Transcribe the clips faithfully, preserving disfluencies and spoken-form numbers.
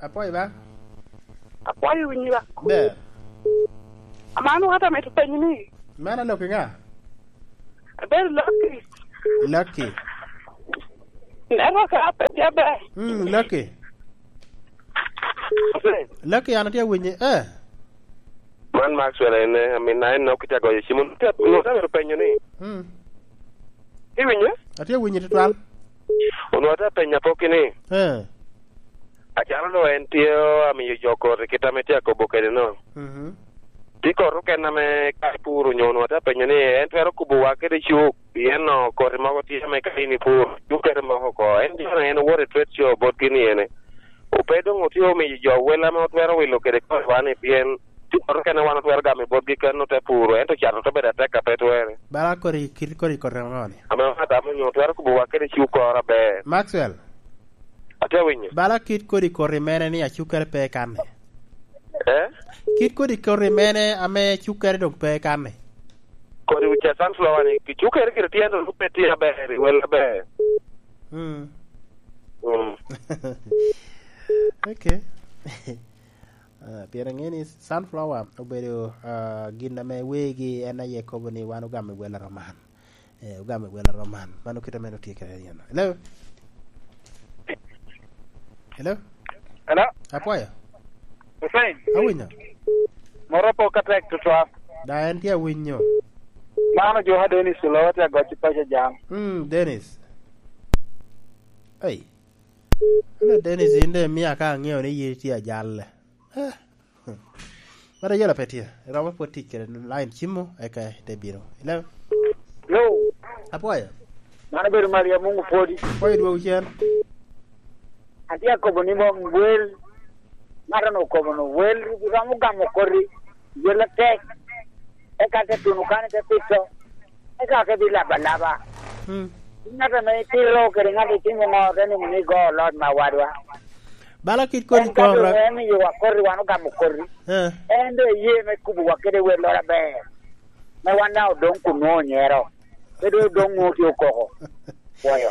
Apwoyo ba. Apwoyo winyi ba. Ber. Amano wata mito penyo ni. Mano lok i ŋa? Abedo Lucky. Lucky. Neno ka pe jaber. Mm, Lucky. Lucky, an atye awinyi. Eh. Man Maxwell en, eh, amin na en nok kitye agoyo cim. Onwoŋo te, onwoŋo te mito penyo ni. Mm. Iwinyo? Atye awinyi tutwal. Onwoŋo te penyo apokki ni. Eh. Acalo doŋ en tye amiyo jo koti kit ame tye akobo kede no. Mhm. Tye koti oken ame ka ipuro onyo onwoŋo te penyo ni en twero kobowa kede cuk, pien no koti mogo tye ame ka in ipuro, cuk kede moko oko. En jo en owoto i trade show botgi ni ene. Ope doŋ otye omiyo jo wel ame otwero wilo kede kotiwa ni, pien tye koti oken ame wan otwero gamo i botgi kano te puro, ento cato te bedo atek a pe twerre. Bala kodi kit kodi koti ŋo ni? Ame wan atamo onyo twero kobowa kede cuk koro aber. Maxwell. Atye awinyo. Bala kit kodi koti mene ni acukkere pe i kanne? Eh? Kit kodi koti mene ame cukkere doŋ pe i kanne? Kodi ca sunflower ni, cukkere gire tye ento pe tye aber, i wel aber. Mm. Mm. Okay. Ah, pien aŋe ni sunflower obedo, ah, gin ame wegi en aye kobo ni wan ogamo i wel aroman. Eh, ogamo i wel aroman. Mano kit ame en otye kede en. Hello? Hello? Hello? Apwoyo? Hussein? Awinyo. Moro pok atek tutwal. Da en tye awinyo. Mano Ojuka Dennis Olowa tye agoc i paco jam. Mm, Dennis. Ei. Ane Dennis, in de mia ka aŋeo ni yin itye ajalle. Eh. Mara yela pe tye. Romo pwod tic kede line cimo, eka ite bino. Hello? Hello? Apwoyo. Mano bedo Maria Mungu pwodi. Apwoyo dwogo cen. Atye akobo ni mom wel. Ŋat-nu okobo ni wel, romo gamo koti. Wel atek. Eka te tuno kany te pito. Eka ke bi laba alaba. Mm. Ŋat ame itito kede ŋat itimo ŋo te nwoŋo ni go oloc me awadwa. Bala kit kodi en ka doŋ kora. En miyowa koti, wan ogamo koti. Eh. En doŋ eye me kubowa kede welloro aber. Me wan daŋ odoŋ kun nwoŋo onyero. Pe doŋ odoŋ nwoŋo tye okoko. Pwoyo.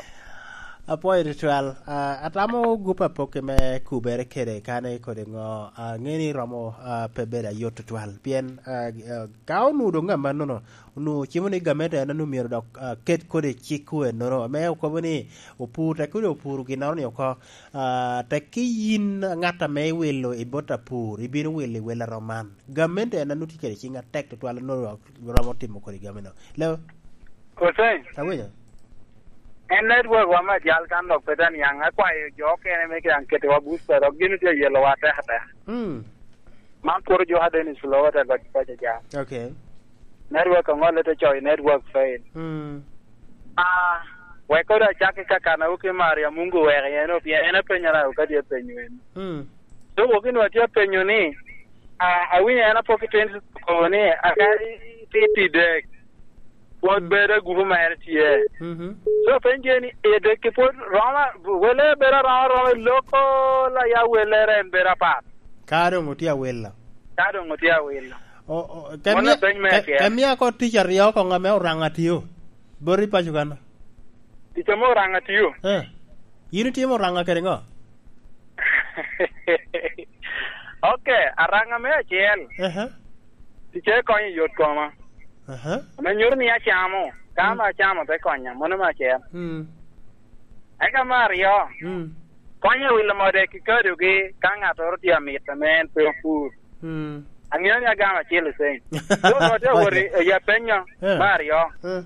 Apwoyo tutwal. Ah, atamo gup apokke me kubere kede kane kodi ŋo. Ah, ŋeni romo, ah, pe bedo ayot tutwal. Pien, ah, ah, ka onwoŋo doŋ amannono, onwoŋo cimo ni gamente en onwoŋo myero dok, ah, ket kodi cik ennoro, ame okobo ni opur, tek kodi opuro ginnoro ni oko, ah, tek ki yin ŋat ame iwilo i bot apur, ibino wilo i wel aroman. Gamente en onwoŋo tye kede ciŋ atek tutwal, onwoŋo romo timo kodi gamino. Leo? Hussein. Awinyo. En network wa me ajal kan dok pe te niaŋ, akwayo jo okene me kiaŋ ketiwa booster, dok gin tye yelowa atek atek. Mm. Man pwod Ojuka Dennis Olowa te goc paco jam. Okay. Network oŋolle te coyo network fail. Mm. Ah, wek kodi acak i kakanawu ki Maria Mungu wek en opye-, en apenyara kadi apenyo en. Mm. So wok inwa tye apenyo ni, ah, awinyo en apok i teni okobo ni, akadi tye i dek. Pwod bedo agupu mere tye. Mhm. So, penje ni, i dek-ki pwod romo, wele bedo aroma, romo i loko la ya welere en bedo apat. Ka doŋ otye awilo. Ka doŋ otye awilo. O, o, ke Mano mia, peny me ke, acer. Ke mia ko tic aryo koŋ ame Oraŋa tio. Bot i paco kan. Tic ame Oraŋa tio. Eh. Yin itimo Oraŋa kede ŋo? Ok, Araŋa me acel. Aha. Ticce konyo i yot koma. Aha. Ame nyuto ni acamo, ka Mm. ame acamo te konya, mano me acel. Mm. Eka me aryo, Mm. konyo i wilo mode ki kadogi ka ŋattoro tye amit ame en pe opur. Mm. Aŋeo ni agamo acel i ceng. So, nwoŋo te wot i, i apenyo Eh. me aryo. Eh.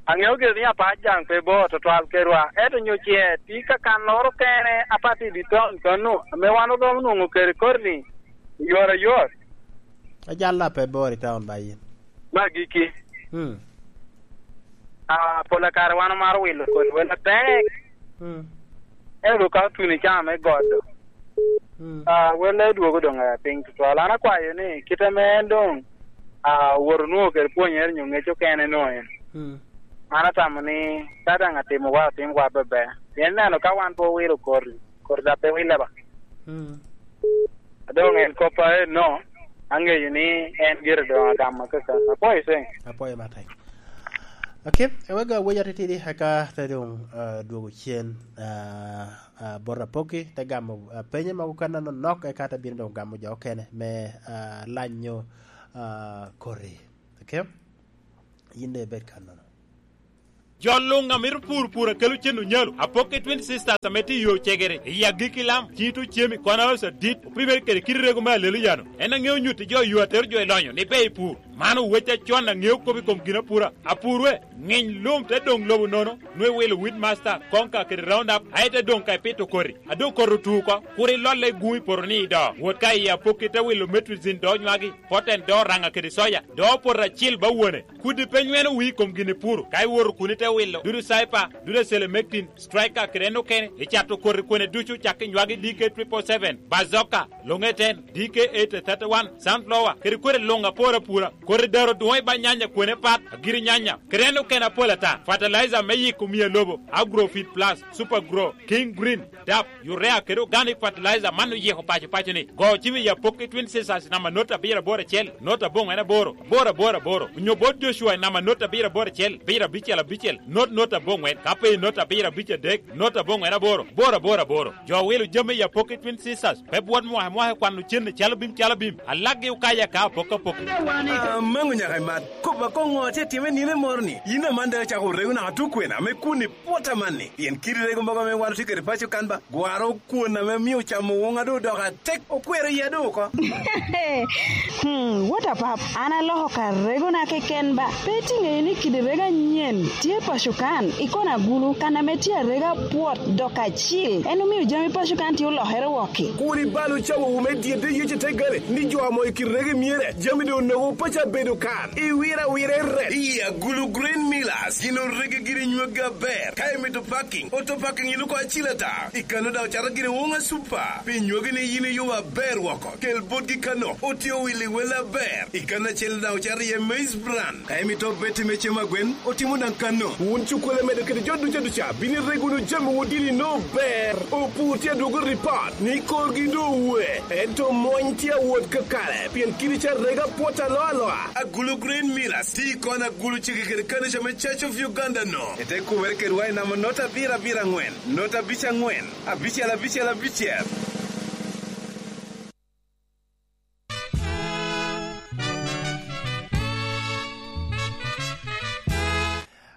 Aŋeo gire ni apac daŋ pe bor tutwal kedwa, ento onyo ce tye kakannoro kene apat i dye taun kano, ame wan orom nwoŋo kede koti-ni i yot ayot. Ajalla pe bor i taun ba yin. Me agikki. Hmm. Ah, pol kare wan omaro wilo kodi wel atek. Hmm. Ento ka otuno i caa me godo, Mm. Ah, welle dwogo doŋ, eh, piny tutwal. An akwayo ni kite ame en doŋ, ah, owoto nwoŋo kede pwonyere nyo ŋec okene nwoŋo en. Mm. An atamo ni ka daŋ atimo wa, otim wa bebe. Pien neno ka wan pe owilo koti, koti daŋ pe wille ba. Mm. Doŋ en kop a enno, aŋeyo ni en gire doŋ agamo kaka. Apwoyo ceng. Apwoyo matek. Ok, ewek awec atitidi, eka te doŋ, ah, dwogo cen, ah, ah, bot Apoki, te gamo, ah, penye mogo kan anonok, eka te bino doŋ gamo jo okene me, ah, lanyo, ah, koti. Ok? Yin daŋ ibed kannono. Jo luŋ a mito pur pur a kelo cen onyalo, Apoki Twin Sisters ame tye i yo cegere, i agikki lam, cito cemi, kona oso adit, opimere kede kite rego me alelo yano. En aŋeo nyutti jo yo atero jo i lonyo ni ber i pur. Man owec acon aŋeo kop i kom ginapura. Apur we, ŋiny lum te doŋ lobo nono, nwe wilo Weedmaster, Konka kede Roundup, aye te doŋ ka ipito koti. A doŋ koti otu oko, kur ilolle i gun i poto ni i do. Wot ka i Apoki te wilo Metrizin do nywagi, Poten do Oraŋa kede Soya, do poto acil ba wone. Kudi pe nyweno wii i kom gin ipuro. Ka iwoto kun ite wilo, dudu Cyper, dudu Selemectin, Striker kede en okene, icato koti kwene ducu cak i nywagi D K triple seven, Bazooka, Longeten, D K eight thirty-one, Sunflower, kede kwene luŋ apor apura. Koti daro dwoŋ i ba nyanya kwene pat, agiri nyanya, kede en okene apol ata. Fertilizer me yiko mia lobo, Agrofit Plus, Super Grow, King Green, DAP, Urea kede Organic Fertilizer man oyiko paco paco ni. Go cim i Apoki Twin Sisters namba not abiro aboro acel, not aboŋwen aboro, aboro aboro aboro. Onyo bot Joshua namba not abiro aboro acel, abiro abicel abicel, not not aboŋwen. Ka pe not abiro abic adek, not aboŋwen aboro, aboro aboro aboro. Jo wilo jami i Apoki Twin Sisters, pe bwot mwaka mwaka i kwano cen i calo bim calo bim. Alakgi okayo aka apok apok. Amaŋo nyaka imat. Kop akoŋo atye atime nino moro ni? Yin aman daŋ icako rego naka tukwena me kun i pwot amanni. Pien kidi rego mogo ame wan otye kede paco kan ba, gwaro kwon ame mio camo woŋa doŋ odoko atek, okwero iya doŋ oko. Hmm, what a pap. An aloko ka regona keken ba. Pe itiŋeyo ni kidi rego anyen tye paco kan, i kona agulu, kan ame tye arega pwot dok acil. En omio jami paco kan tye olokere wokki. Kur ibal ocawowu me dyedde yec i te gale, ni jo amo i kidi rego myere, jami doŋ onogo paco abedo kan. Iwiro awira i rep. I agulu Green Millers, gin orege giri nyweggi aber. Ka imito parking, auto parking iluko acil ata. I kano daŋ ocato giri woŋa super. Pi nywegi ni yin iyubo aber woko. Kel botgi kano, otye owilli wel aber. I kano acel daŋ ocato iye maize bran. Ka imito beti me cem agwen, otimo daŋ kano. Wun cukkole medo kede jo duca duca, bino ireg wunu jamiwu dini no ber. Opur tye adwogo ripot ni korgi doŋ owe, ento mony tye awot kakare, pien kidi ca rega pwot aloa aloa. Agulu Green Millers, ti kon agulu cege kede kanica me Church of Uganda no. Ete kumere kedwa i namba not abiro abiro aŋwen, not abic aŋwen, abicel abicel abicel.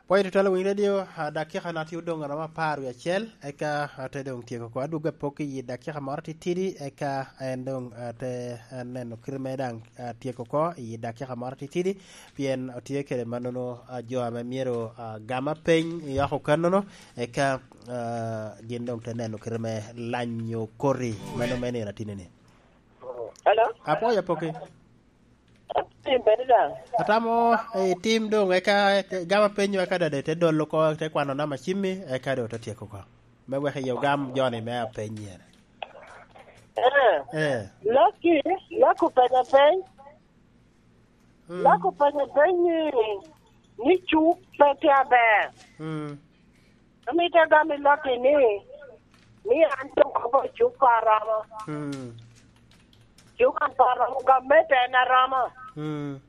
Pwony tutwal winy radio, ah, dakika na tye odoŋ aromo apar wie acel, eka ate doŋ tyeko oko. Adwogo apok i dakika moro titidi, eka en doŋ ate, ah, neno kite me daŋ, ah, tyeko oko i dakika moro titidi, pien otye kede mannono, ah, jo ame myero, ah, gam apeny i oko kannono, eka, ah, gin doŋ te neno kite me lanyo koti, mano me nino atinni. Hello? Apwoyo apoki. Tim bene daŋ. Atamo, eh, tim doŋ, eka, eh, gama penyo, eka dade te dolo oko, te kwano nama cimmi, eka do te tyeko oko. Me wek iye ogam joni me apenyi ene. Eh. Eh. Laki, lako penyo peny. Mm. Lako penyo peny ni, ni cuk pe tye aber. Mm. Amito agam i Laki ni, ni an doŋ kobo cuk pe aromo. Mm. Cuk an pe aromo, gamente en aromo. Mm.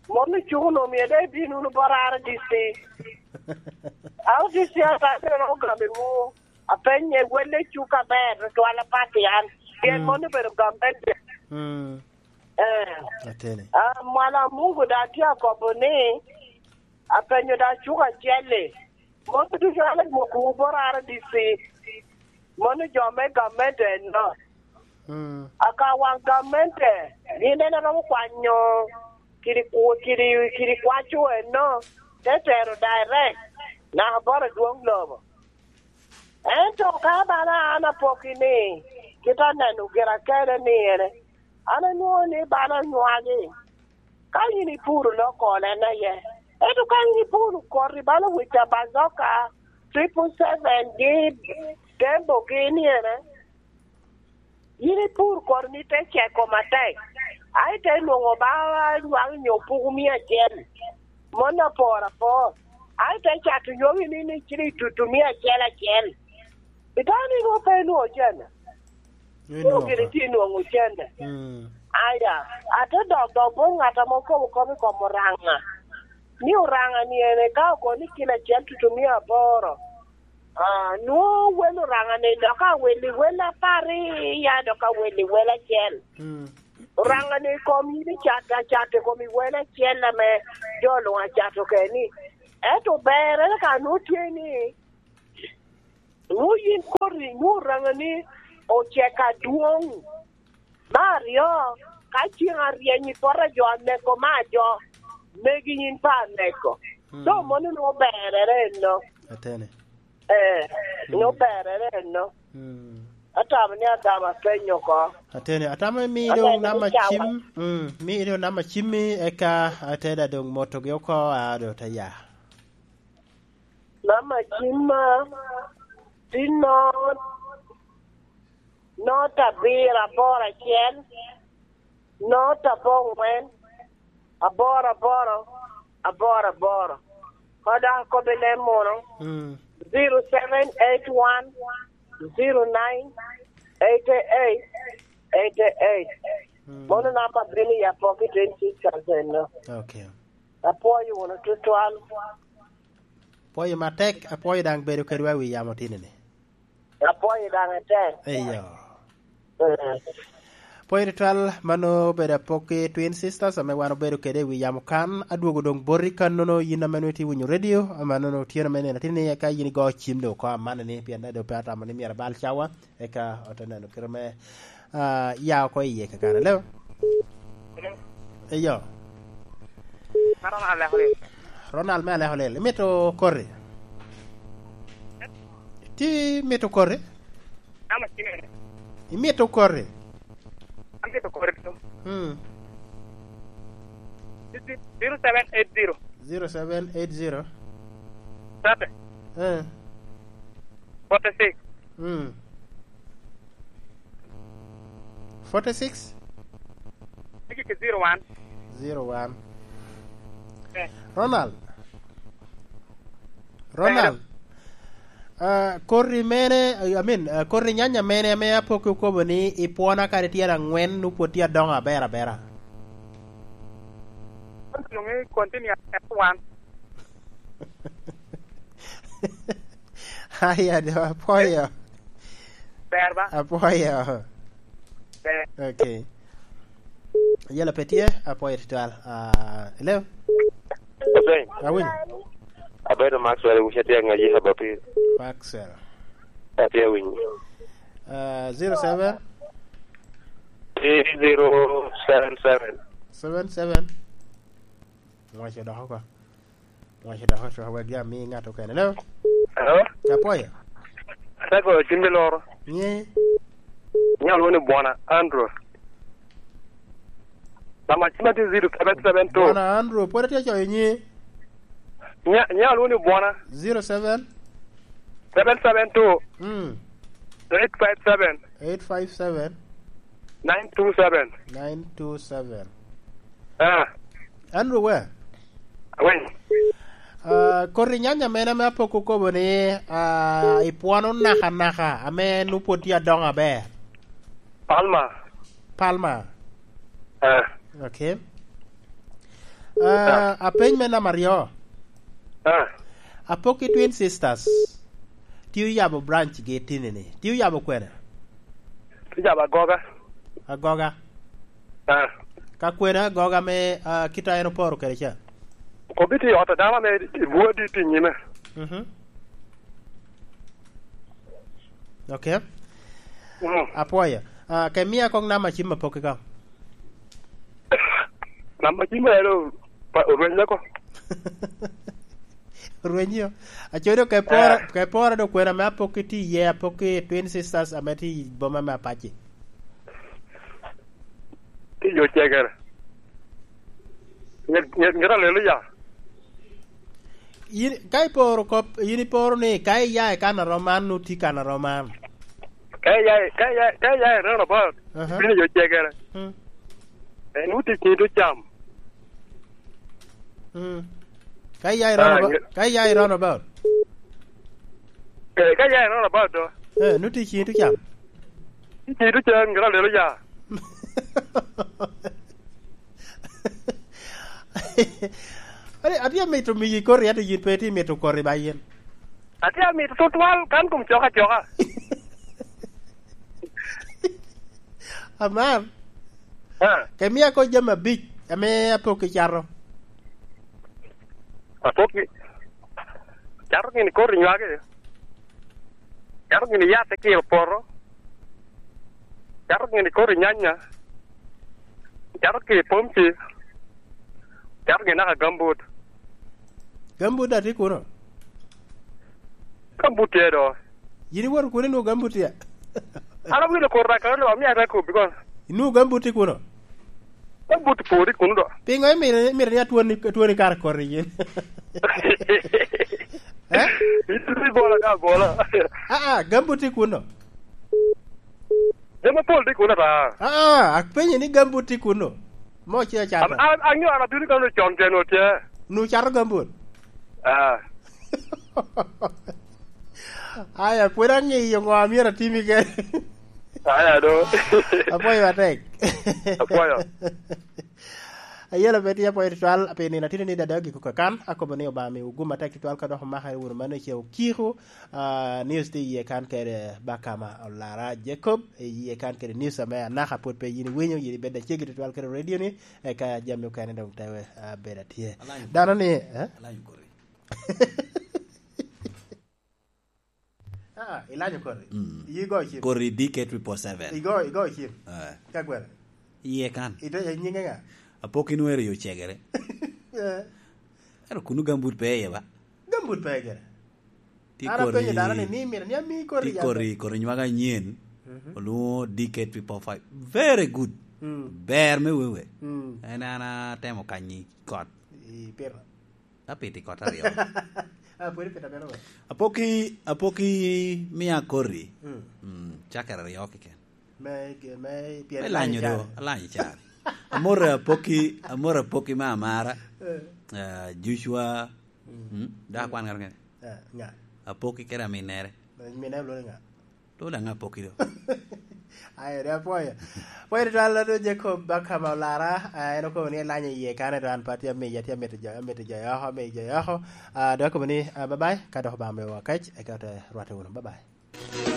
Mon ocuk onwoŋo myero daŋ ibin wunu bot R D C. R D C ata bene ogamo i wu, apenye, welle cuk aber tutwal apat i an. Pien mm, mon obedo gamente. Mm. Eh. Ateni. Ah, Mwala Mungu daŋ tye akobo ni, apenyo daŋ cuk acel-li. Mon ducu an adwokowu bot R D C. Mano jo me gamente enno. Mm. Aka waŋ gamente, gin en aromo kwanyo kidi kwo-, kidi, kidi kwaco enno, te tero direct naka bot adwoŋ lobo. Ento ka bala an apokki ni, kit aneno gira kede ni ene, an anwoŋo ni bala onywagi. Ka yin ipuro loko en aye. Ento ka yin ipuro koti bala wica bazoka, triple seven gi dembo gi ni ene, yin ipur koti ni te ceko matek. Ai te nwoŋo ba nywak nyo puku mia acel. Mon apor apor. Ai te cato nyogi ni ni ciri tutu mia acel acel. Itamo ni nwoŋo pe inwoŋo cene? Ni nwoŋo nwoŋo gini ka tye nwoŋo cene. Mm. Aya, ate dok dok bot ŋat ame okobo kop i kom Oraŋa. ni Oraŋa ni en ka ogo ni kilo acel tutumia aboro, ah, nwoŋo wel Oraŋa ni dok awel i wel apar i ya, dok awel i wel acel. Mm. Oraŋa ni kom yin icat, acat i kom i wel acel ame jo luŋ acato keni. Ento berre ka nwoŋo tye ni, nwoŋo yin koti, nwoŋo Oraŋa ni ocek adwoŋ. Me aryo, ka ceŋ aryeny i poto a jo aneko me ajo, megi yin pe aneko. Mm. So, mano nwoŋo berrere enno. Atene. Eh, mm, nwoŋo berrere enno. Mm. Atamo ni agamo apenyo oko. Atene, atamo imi doŋ namba cim, mm, imi doŋ namba cimmi, eka ateda doŋ motogi oko, a, doŋ te ya. Namba cimma tye not, not abiro aboro acel, not abongwen, aboro aboro, aboro aboro. Ka dok akobo i leb munu, mm, zero seven eight one, zero nine, eight eight, eight eight. Mm. Mano namba bino i Apoki twenty six thousand no. Okay. Apwoyo wunu tutwal. Apwoyo matek, apwoyo daŋ bedo kedwa i wi yamo tinini. Apwoyo daŋ atek. Eyo. Mm. Apwoyo tutwal, mano obedo Apoki Twin Sisters ame wan obedo kede i wi yamo kan. Adwogo doŋ boti kannono, yin ame nwoŋo itye winyo redio, amannono otyeno me nino tinini, eka yin igo cim doŋ oko amanni, pien daŋ doŋ pe atamo ni myero abal cawa, eka ote neno kite me, ah, ya oko iye kakare. Hello? Eyo. Ronald me Aleko Lil. Imito koti? Ti imito koti? Imito koti? Amito koti to. Hmm. Zero seven eight zero. Zero seven eight zero. Thirty. Eh. Forty-six. Hmm. Forty-six? Zero one. Zero one. Eh. Ronald. Ronald. Ah, koti mene, I mean, ah, koti nyanya mene ame Apoki okobo ni ipwona kadi tyen angwen, nwoŋo pwod tye adoŋo aber abera? Continue at one. Aya, do, apwoyo. Ber ba? Apwoyo. Ber. Okay. Yela pe tye, apwoyo tutwal. Ah, hello? Hussein. Awinyo. Abedo Maxwell, wucce tye aŋaji haba pir. Maxwell. Atye awinyo. Ah, zero seven? Three zero seven seven. Seven seven. Ngwaco dok oko. Ngwaco dok oko, wek ya mi ŋat okene. Hello? Hello? Apwoyo. Aseko cim me loro. Nye? Nyal woni Bwana Andrew. Namba cima tye zero seven seven two. Bwana Andrew, pwod atye coyo nyi. Nya-, nyal woni Bwana. Zero seven? Seven seven two. Mm. Eight five seven. Eight five seven. Nine two seven. Nine two seven. Ah. Andrew, where? Where? Ah, koti nyanya mene ame Apoki okobo ni, ah, ipwono naka naka, ame nwoŋo pwod tye adoŋo aber? Palma. Palma. Ah. Okay. Ah, ah, apeny me namba aryo. Ah. Apoki Twin Sisters. Tye oyabo branch gi tinini. Tye oyabo kwene? Tye oyabo Agoga. Agoga. Ah. Ka kwene Agoga me, ah, kit a en oporo kede ca? Kobbi tye i ot a dano ame i bwodi tye i nyime. Mhm. Okay. Mm. Apwoyo. Ah, ke mia kong namba cim Apoki ka. Namba cim elo pa, orweny leko. Orwenyo. Acodo ke poro, eh, ke poro do kwena me Apoki tye iye, Apoki Twin Sisters ame tye i boma me Apaci. Tye i yo cegere. Nget, nget, nget aleluya. Yin, ka iporo kop, yin iporo ni ka iya i kan a rom man, nwoŋo tye kan a rom man. Ka iya, ka iya, ka iya i roundabout, aha, ibino i yo cegere. Hmm. Eh, nwoŋo tye i cito cam. Hmm. Ka iya i, ah, roundabout, nge-, ka iya i roundabout. Eh, ka iya i roundabout do. Eh, nwoŋo tye i cito cam. Tye i cito cam, nget aleluya. Ate, atye amito miyi koti, ate yin pe itye mito koti ba yin. Atye amito tutwal kan kom coka coka. Amar. Ah. Ke mia ko jami abic, ame apok i cato. Apok i, cato gini koti nywage. Cato gini yat i kiro poto. Cato gini koti nyanya. Cato ki pomci. Cato gini naka gambut. Gambut da tye kuno? Gambut tye do. Yin iwoto kuno inwoŋo gambut tye? An awinyo koti da kano, omia te kobbi kono. Inwoŋo gambut tye kuno? Gambut pwod i kuno do. Pingo imito, imito ni atwoni, atwoni kara koti yin? Eh? Iti bola ka bola. Ah, ah, gambut tye kuno? Jami apol tye kuno ata. Ah, ah, apenyo ni gambut tye kuno? Mo ce acata. Am-, am-, anyo an abino kano con tyen otye. Nu cato gambut? Ah. Aya, pwod aŋeyo ŋo a myero atimi kede. Aya do. Apwoyo atek. Apwoyo. Ayela pe tye apwoyo tutwal, pi nino atino ni dada giko kakan, akobo ni Obaŋa miwu gum atek tutwal ka dok omaka wunu mano ice okiko, ah, news tye iye kan kede Bakama Olara Jacob, iye kan kede news ame anaka pwod pe yin iwinyo, yin ibed acegi tutwal kede radio ni, eka jami okene dong te, ah, bedo atye. Alany. Dano ni, eh? Alany kodi. Ah, ilanyo kodi. Mm. Yi go cim. Kodi D K triple seven. Igo, igo cim. Eh. Ka gwere. Iye kan. Ito, e nyinge ŋa? Apok inwero yo cegere. Eh. Ero kunu gambut pe iye ba? Gambut pe gere. Ti an apenyo kodi, dano ni, ni mito ni ami kodi ti jam kodi, kodi nywaka anyen. Mhm. Olwoŋo D K triple five. Very good. Mm. Ber me wewe. Mm. En an atemo kanyi kot. I pito. Apiti kot aryo. Ah, pwod ipito abino ba? Apoki, apoki mia koti. Mm. Mm, cakere aryo keken. Me, me pyer. Me lanyo do, alanyo cari. Amoro apoki, amoro apoki me amara. Eh. Ah, Joshua. Mm. Mm, da kwan ŋato ŋene. Eh, ŋa? Apoki kede aminere. Aminere lwongo ŋa? Lwongo daŋ apoki do. Ayo, de apwoyo. Apwoyo tutwal, Lado Jacob Bakama Olara, ah, en okobo ni elanyo iye kane to an pe atye amiyo, atye amito jo, amito jo oko, amiyo jo oko. Ah, dok akobo ni, ah, bye bye, ka dok Obaŋa miyowa kec, eka ote rwatte wunu. Bye bye.